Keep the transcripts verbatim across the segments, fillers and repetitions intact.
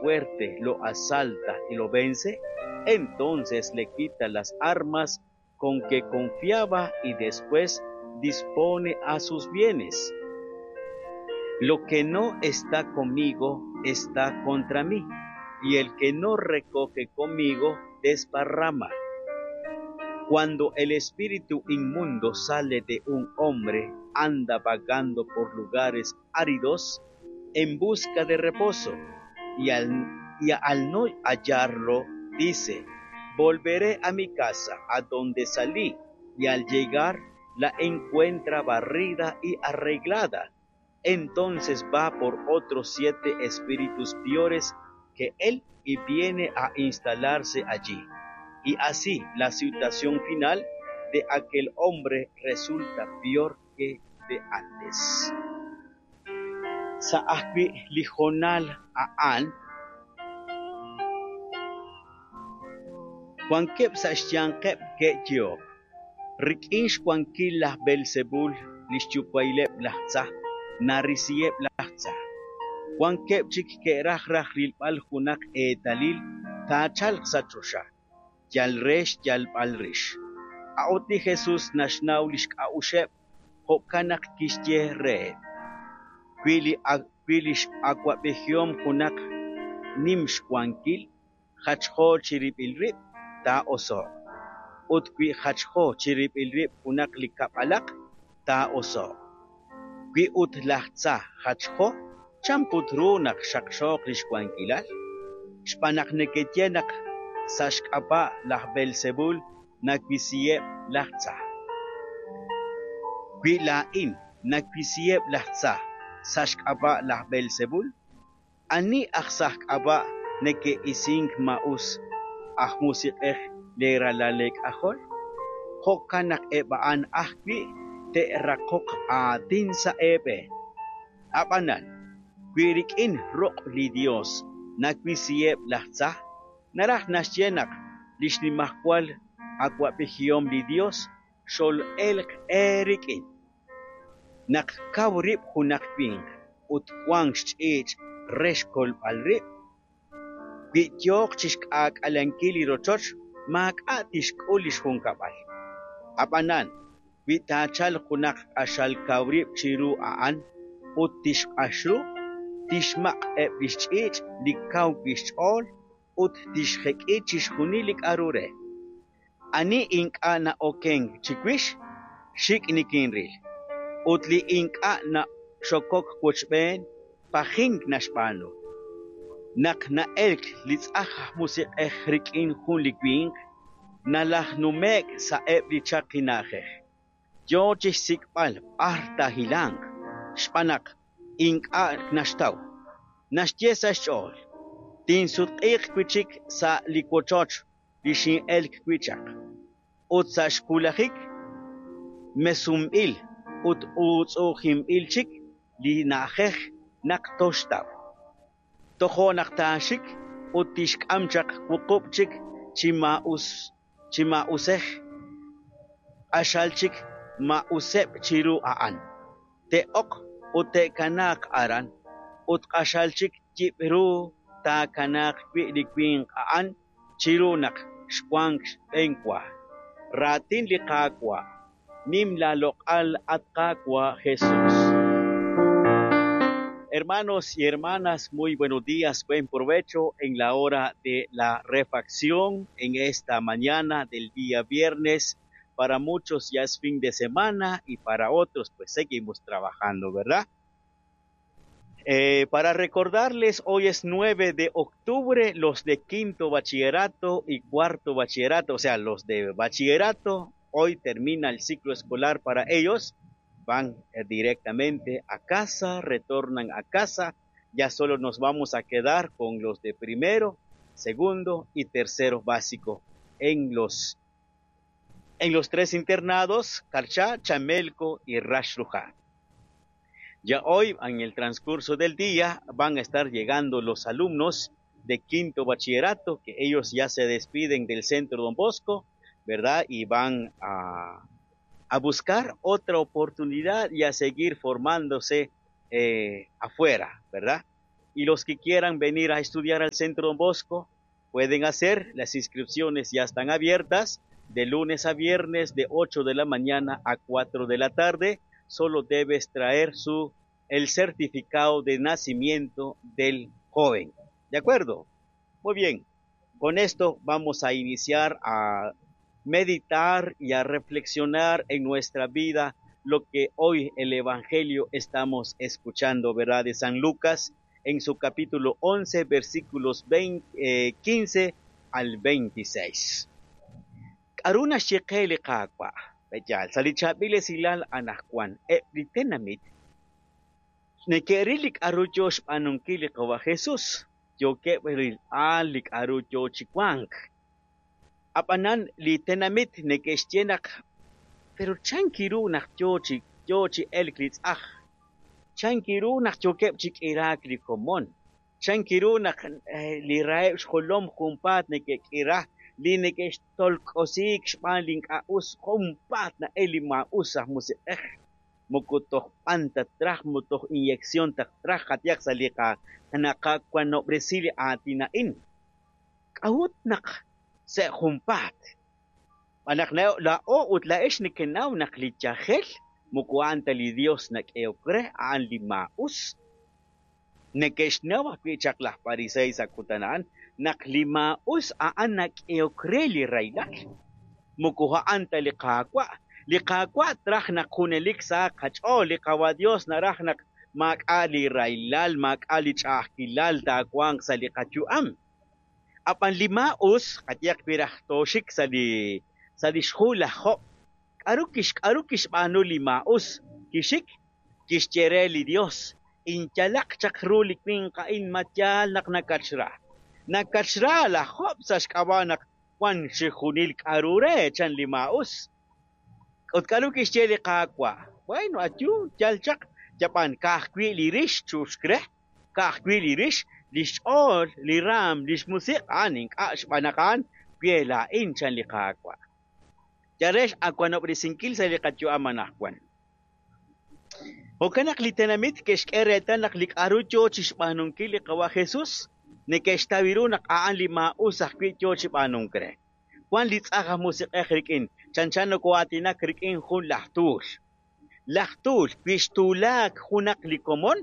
fuerte lo asalta y lo vence, entonces le quita las armas con que confiaba y después dispone a sus bienes. Lo que no está conmigo está contra mí, y el que no recoge conmigo desparrama. Cuando el espíritu inmundo sale de un hombre, anda vagando por lugares áridos en busca de reposo, y al, y al no hallarlo, dice: volveré a mi casa, a donde salí, y al llegar la encuentra barrida y arreglada. Entonces va por otros siete espíritus peores que él y viene a instalarse allí. Y así la situación final de aquel hombre resulta peor que de antes. Sa ajwi' li hoonal a'an, wankeb' sa' xyanqeb' ke'yehok: rik'in xwankil laj Beelzebul, li xyuwa'ileb' laj tza, narisiheb' laj tza. Wankeb' chik ke'raj raj rilb'al junaq eetalil taachalq sa' choxa, yal re xyalb'al rix. A'ut li Jesus naxnaw li xk'a'uxeb', jo'kan naq kixye reheb': wi li wi li x'awab'ejihom junaq nim xwankil, jachjo chirib'il rib', taa'oso'q. Ut wi jachjo chirib'il rib' junaq li kab'alaq, taa'oso'q. Wi ut laj tza jachjo, chan put ru naq xaqxooq li xwankilal? Xb'aan naq nekeye naq sa' xk'ab'a' laj Beelzebul nawisiheb' laj tza. Wi laa'in nawisiheb' laj tza sa' xk'ab'a' laj Beelzebul, ani aj sa' xk'ab'a' neke'isink maa'us aj musiq'ej leeralal leek'ajol? Jo'kan naq eb' a'an ajwi' te'raqoq aatin sa' eeb'een. Ab'anan, wi rik'in ruq' li Dios nawisiheb' laj tza, naraj naxye naq li xnimajwal awab'ejihom li Dios xol'elq eerik'in. Naq kaw rib' junaq winq ut wank xch'iich' re xkolb'al rib', wi yooq chixk'aak'alenkil li rochoch, maak'a' tixk'ul li xjunkab'al. Ab'anan, wi taachalq junaq q'axal kaw rib' chiru a'an ut tixq'ax ru, tixmaq' eb' li xch'iich' li kaw wi' xch'ool ut tixjek'i chixjunil li k'aru re. Ani ink'a' na'okenk chiwix, xik' nikinril, ut li ink'a' naxokok wochb'een, pajink naxb'aanu. Naq na'elk li tz'aj aj musiq'ej rik'in jun li winq, nalajnume'k sa'eb' li chaqi na'ajej. Yo chixsik'b'al b'ar taahilanq, xb'aan naq ink'a' naxtaw. Naxye sa' xch'ool: tinsutq'iiq wi' chik sa' li wochoch li xin'elk wi' chaq. Ut sa' xwulajik mesunb'il ut uutz'u'ujinb'il chik li na'ajej naq toxtaw. Tojo' naq taaxik ut tixk'am chaq wuqub' chik chi maa'us chi maa'usej, q'axal chik maa'useb' chiru a'an. Te'ok ut te'kanaaq aran, ut q'axal chik yib' ru taakanaaq wi' li winq a'an chiru naq xwank xb'enwa. Raatin li Qaawa', nim laaloq'al at Qaawa' Jesús. Hermanos y hermanas, muy buenos días, buen provecho en la hora de la refacción en esta mañana del día viernes. Para muchos ya es fin de semana y para otros pues seguimos trabajando, ¿verdad? Eh, para recordarles, hoy es nueve de octubre, los de quinto bachillerato y cuarto bachillerato, o sea, los de bachillerato, hoy termina el ciclo escolar para ellos, van eh, directamente a casa, retornan a casa, ya solo nos vamos a quedar con los de primero, segundo y tercero básico en los, en los tres internados, Carchá, Chamelco y Raxruhá. Ya hoy, en el transcurso del día, van a estar llegando los alumnos de quinto bachillerato, que ellos ya se despiden del Centro Don Bosco, ¿verdad? Y van a, a buscar otra oportunidad y a seguir formándose eh, afuera, ¿verdad? Y los que quieran venir a estudiar al Centro Don Bosco, pueden hacer, las inscripciones ya están abiertas, de lunes a viernes, de ocho de la mañana a cuatro de la tarde. Solo debes traer su, el certificado de nacimiento del joven. ¿De acuerdo? Muy bien. Con esto vamos a iniciar a meditar y a reflexionar en nuestra vida lo que hoy el Evangelio estamos escuchando, ¿verdad? De San Lucas, en su capítulo once, versículos veinte, eh, quince al veintiséis. K'aru naxye li Qaawa', b'eyal, sa' li chaab'il esilal anaqwan, eb' li tenamit neke'ril li k'aru yo xb'aanunkil li Qawa' Jesus, yookeb' rilb'al li k'aru yo chi wank. Ab'anan li tenamit neke'xye naq pero chanki ru naq yo chi, yo chi elk li tz'aj, chanki ru naq yookeb' chi k'iraak li komon, chanki ru naq li raheb' xjolom junpaat neke'k'ira, li neke'xtolk'osiik xb'aan li ink'a' us junpaat na'el li maa'us aj musiq'ej, moko toj b'an tatraj, moko toj inyección tatraj qatiyaq sa' li naqawanob'resi li aatin a'in. K'a'ut naq sa' junpaat? B'anaq laa'o ut laa'ex nekenaw naq li yajel moko a'an ta li Dios nak'ehok re, a'an li maa'us. Neke'xnaw ajwi' chaq laj Parisey sa' kutan a'an naq li maa'us a'an nak'ehok re li rahilal. Moko a'an ta li Qaawa'. Li Qaawa' traj naq junelik sa' qach'ool, li Qawa' Dios naraj naq maak'a' li rahilal, maak'a' li ch'a'ajkilal taawanq sa' li qayu'am. Ab'an li maa'us qayaq piraj tooxik sa' li sa' li xhu laj Job. K'aru kix k'aru kixb'aanu li maa'us? Kixik kixye re li Dios, inyalaq chaq ru li winq a'in ma yaal naq nakachra. Nakachra laj Job sa' xk'ab'a' naq wan xijunil k'aru re chan li maa'us. Ut k'aru kixye li Qaawa'? Bueno, ayu yal chaq yab'an ka'ajwi' li rix chuxk re, ka'ajwi' li rix, li xch'ool, li raam, li xmusiq' a'an ink'a' xb'aan naq a'an we laa'in chan li Qaawa'. Yarex awanob'resinkil sa' li qayu'am anaqwan. Jo'kan naq li tenamit ke'xk'e reetal naq li k'aru yo chi xb'aanunkil li Qawa' Jesus, neke'xtaw ru naq a'an li maa'us ajwi' yo chi b'aanunk re. Wan li tz'aj aj musiq'ej rik'in, chanchan noko'aatinak rik'in jun laj tuul. Laj tuul wi xtuulaak junaq li komon,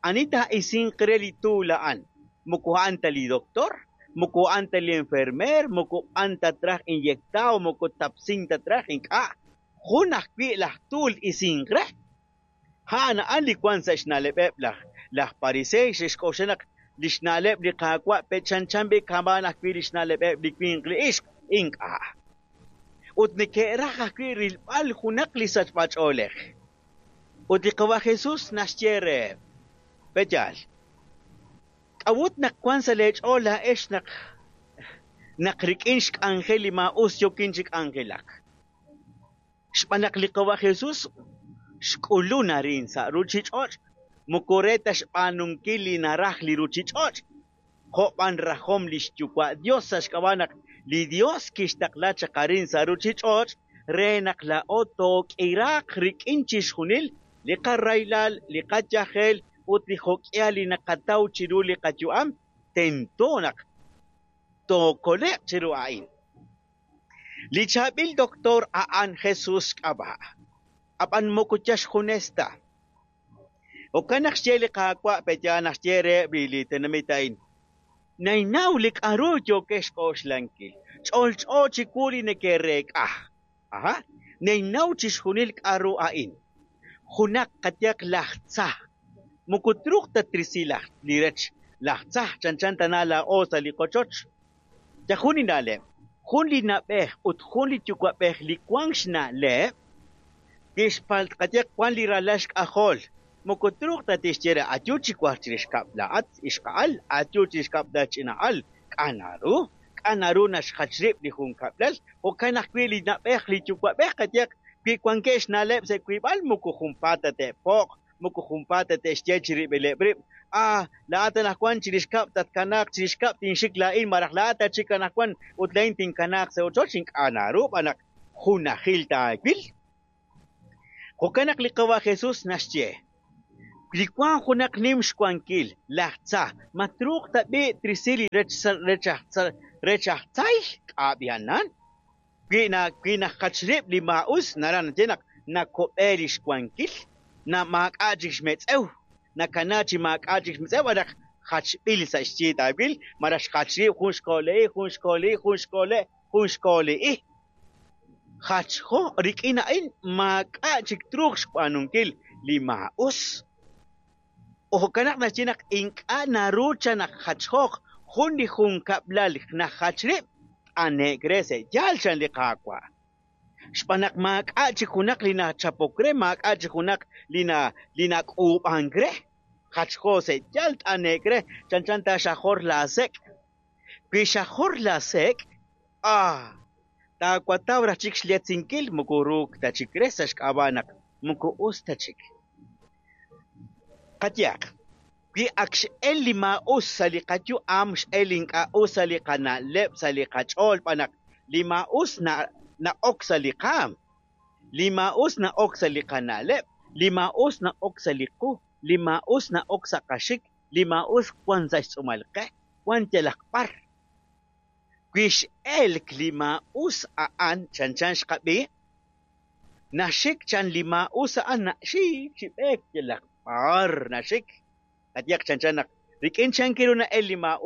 ani taa'isinq re li tuul a'an? Moko a'an ta li doctor, moko a'an ta li enfermer, moko a'an ta traj inyectao, moko tapsin ta traj ink'a'. Jun ajwi' laj tuul isinq re. A'an a'an li wan sa' xna'leb'eb' laj laj Parisey xe'xk'oxla naq li xna'leb' li Qaawa' pechanchan b'i kamaan ajwi' li xna'leb'eb' li winq li ixq ink'a'. Ut neke'raj ajwi' rilb'al junaq li sachb'ach'oolej. Ut li Qawa' Jesus naxye reheb', b'eyal, k'a'ut naq wan sa' leech'ool laa'ex naq naq rik'in xk'anjel li maa'us yokin chi k'anjelak. Xb'aan naq li Qawa' Jesus xk'ulun arin sa' ruchich'och', moko re ta xb'aanunkil li naraj li ruchich'och', jo' b'an rajom li xyuwa' Dios sa' xk'ab'a' naq li Dios kixtaqla chaq arin sa' ruchich'och' re naq laa'o took'iraaq rik'in chixjunil li qarahilal, li qayajel ut li jok'ihal li naqataw chiru li qayu'am, tento naq tookole'q chiru a'in. Li chaab'il doctor a'an Jesus xk'ab'a', ab'an moko yal xjunes ta. Jo'kan naq xye li Qaawa' pe'yaal naq xye reheb' li tenamit a'in, Nainaw li k'aru yookex xk'oxlankil, ch'olch'o chiwu li neke'reek'a. Aha, nainaw chixjunil k'aru a'in. Junaq qayaq laj tza, moko truuq ta trisi laj li rech laj tza chanchan tana laa'o sa' li qochoch. Ya jun li na'leb', jun li na'b'ej ut jun li yuwa'b'ej li wank xna'leb', kixpal qayaq wan li ralal xk'ajol. Moko truuq ta tixye re ayu chi waj chirix kab'l laa'at ixqa'al, ayu chirix kab'l la ch'ina'al. K'a' naru, k'a' naru naxjach rib' li jun kab'lal, jo'kan ajwi' li na'b'ej li yuwa'b'ej qayaq wi wankeb' xna'leb' sa' wiib'al moko junpaat ta te'po'q, moko junpaat ta te'xye chirib'ileb' rib'. Ah, laa'at anaqwan chirix kab'l tatkanaaq chirix kab'l tinxik laa'in maraj laa'at tachik anaqwan ut laa'in tinkanaaq sa' ochoch ink'a' naru b'an naq junajil taawil. Jo'kan naq li Qawa' Jesus naxye, Li wank junaq nim xwankil, laj tza, ma truuq tab'i' trisi li rech rech aj rech aj tzay k'a' b'i'anan. Wi na wi najach rib' li maa'us naraj naxye naq nakob'e li xwankil, na maak'a' chik xmetz'ew, nakana chi maak'a' chik xmetz'ew malaj jachb'il sa' xyi taawil, malaj xjach rib' jun xkole'i, jun xkole'i, jun xkole', jun xkole'i. Jachjo rik'in a'in maak'a' chik truuq xb'aanunkil li maa'us. Jo'kan naq naxye naq ink'a' naru cha naq jachjooq jun li junkab'lal najach rib' t'ane'k re sa' yaal chan li Qaawa'. Xb'aan naq maak'a' chik junaq li nachapok re, maak'a' chik junaq li na li nak'uub'ank re. Jachjo sa' yaal t'ane'k re, chanchan ta xajor laasek'. Wi xajor laasek', ah, taawataw raj chik xletzinkil moko ruuk ta chik re sa' xk'ab'a' naq moko us ta chik. Qayehaq, wi ak x'el li maa'us sa' li qayu'am, x'el ink'a' us sa' li qana'leb', sa' li qach'ool, xb'aan naq li maa'us na na'ok sa' li qaam, li maa'us na'ok sa' li qana'leb', li maa'us na'ok sa' li qu, li maa'us na'ok sa' qaxik, li maa'us wan sa' xtz'uumal qe, wan yalaq b'ar. Wi x'elk li maa'us a'an chanchan xqab'i, naxik chan li maa'us a'an naxik chi b'eek yalaq b'ar naxik. Qayehaq chanchan naq rik'in chan ru na'el li maa'us.